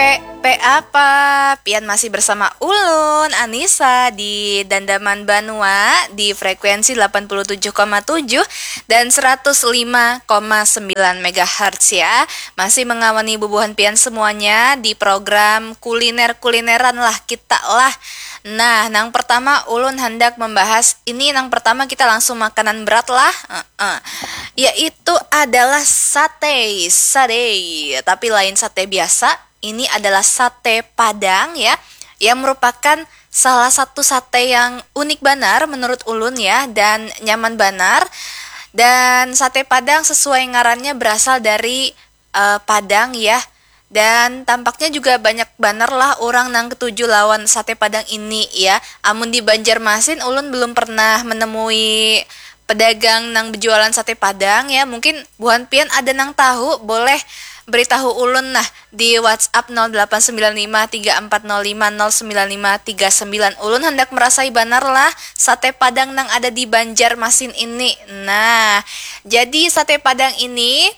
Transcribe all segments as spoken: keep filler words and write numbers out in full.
P P apa? Pian masih bersama ulun, Anissa, di Dandaman Banua di frekuensi delapan puluh tujuh koma tujuh dan seratus lima koma sembilan megahertz ya. Masih mengawani bubuhan pian semuanya di program kuliner-kulineran lah kita lah. Nah, nang pertama ulun hendak membahas ini, nang pertama kita langsung makanan berat lah. Heeh. Yaitu adalah sate, sate. Tapi lain sate biasa, ini adalah sate Padang ya, yang merupakan salah satu sate yang unik banar menurut ulun ya, dan nyaman banar. Dan sate Padang sesuai ngarannya berasal dari eh, Padang ya. Dan tampaknya juga banyak banar lah orang nang ketuju lawan sate Padang ini ya. Amun di Banjarmasin, ulun belum pernah menemui pedagang nang berjualan sate Padang ya. Mungkin buhan pian ada nang tahu, boleh beritahu ulun nah di WhatsApp nol delapan sembilan lima tiga empat nol lima nol sembilan lima tiga sembilan. Ulun hendak merasai banar lah sate Padang nang ada di Banjarmasin ini. Nah, jadi sate Padang ini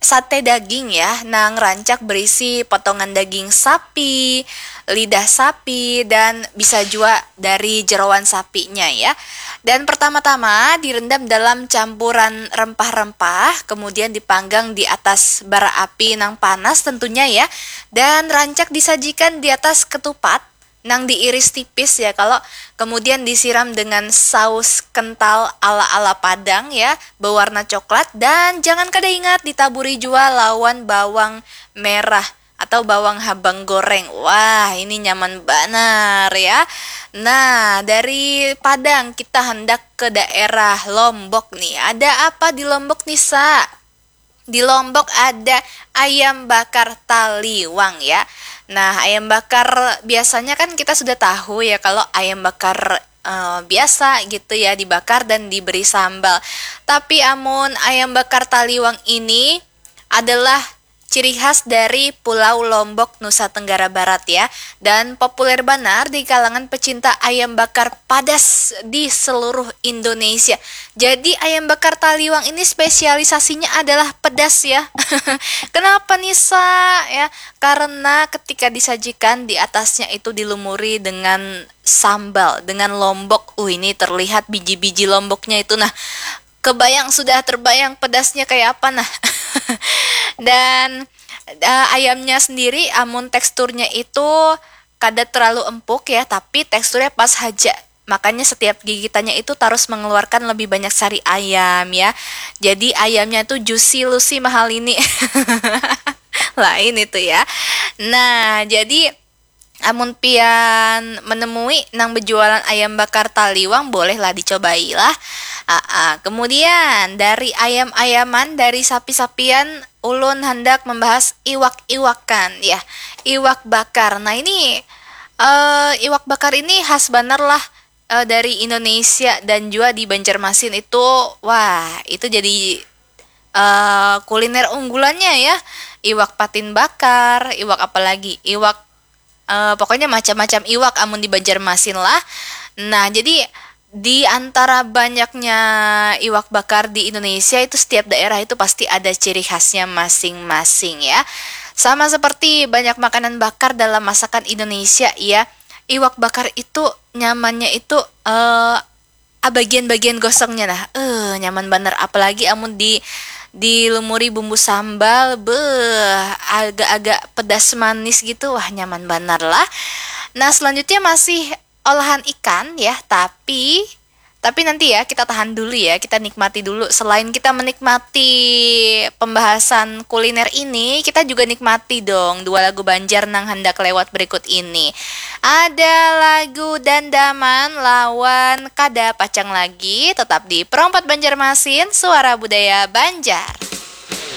sate daging ya, nang rancak berisi potongan daging sapi, lidah sapi, dan bisa jua dari jeroan sapinya ya. Dan pertama-tama direndam dalam campuran rempah-rempah, kemudian dipanggang di atas bara api nang panas tentunya ya, dan rancak disajikan di atas ketupat nang diiris tipis ya, kalau kemudian disiram dengan saus kental ala-ala Padang ya, berwarna coklat, dan jangan kada ingat ditaburi jua lawan bawang merah atau bawang habang goreng. Wah, ini nyaman banar ya. Nah, dari Padang kita hendak ke daerah Lombok nih. Ada apa di Lombok nih, Sa? Di Lombok ada ayam bakar taliwang ya. Nah, ayam bakar biasanya kan kita sudah tahu ya kalau ayam bakar eh, biasa gitu ya, dibakar dan diberi sambal. Tapi amun ayam bakar taliwang ini adalah ciri khas dari Pulau Lombok, Nusa Tenggara Barat ya, dan populer banar di kalangan pecinta ayam bakar padas di seluruh Indonesia. Jadi ayam bakar taliwang ini spesialisasinya adalah pedas ya. Kenapa nih, Sa? Ya, karena ketika disajikan, di atasnya itu dilumuri dengan sambal, dengan lombok. Uh, ini terlihat biji-biji lomboknya itu. Nah, kebayang, sudah terbayang pedasnya kayak apa nah. Dan eh, ayamnya sendiri, amun teksturnya itu kada terlalu empuk ya, tapi teksturnya pas haja. Makanya setiap gigitannya itu terus mengeluarkan lebih banyak sari ayam ya. Jadi ayamnya tuh juicy lucy mahal ini. Lain itu ya. Nah, jadi amun pian menemui nang berjualan ayam bakar taliwang, bolehlah dicobai lah. Aa, kemudian dari ayam-ayaman, dari sapi-sapian, ulun hendak membahas iwak-iwakan ya. Iwak bakar. Nah, ini eh, iwak bakar ini khas banar lah eh, dari Indonesia dan juga di Banjarmasin itu, wah, itu jadi eh, kuliner unggulannya ya. Iwak patin bakar, iwak apalagi, iwak eh, pokoknya macam-macam iwak amun di Banjarmasin lah. Nah, jadi di antara banyaknya iwak bakar di Indonesia itu, setiap daerah itu pasti ada ciri khasnya masing-masing ya. Sama seperti banyak makanan bakar dalam masakan Indonesia ya. Iwak bakar itu nyamannya itu eh ah, bagian-bagian gosongnya nah. Eh, nyaman banar, apalagi amun di dilumuri bumbu sambal, beh, agak-agak pedas manis gitu. Wah, nyaman banar lah. Nah, selanjutnya masih olahan ikan ya, tapi tapi nanti ya, kita tahan dulu ya, kita nikmati dulu. Selain kita menikmati pembahasan kuliner ini, kita juga nikmati dong dua lagu Banjar nang hendak lewat berikut ini. Ada lagu Dandaman lawan Kada Pacang Lagi, tetap di Perompat Banjarmasin, Suara Budaya Banjar.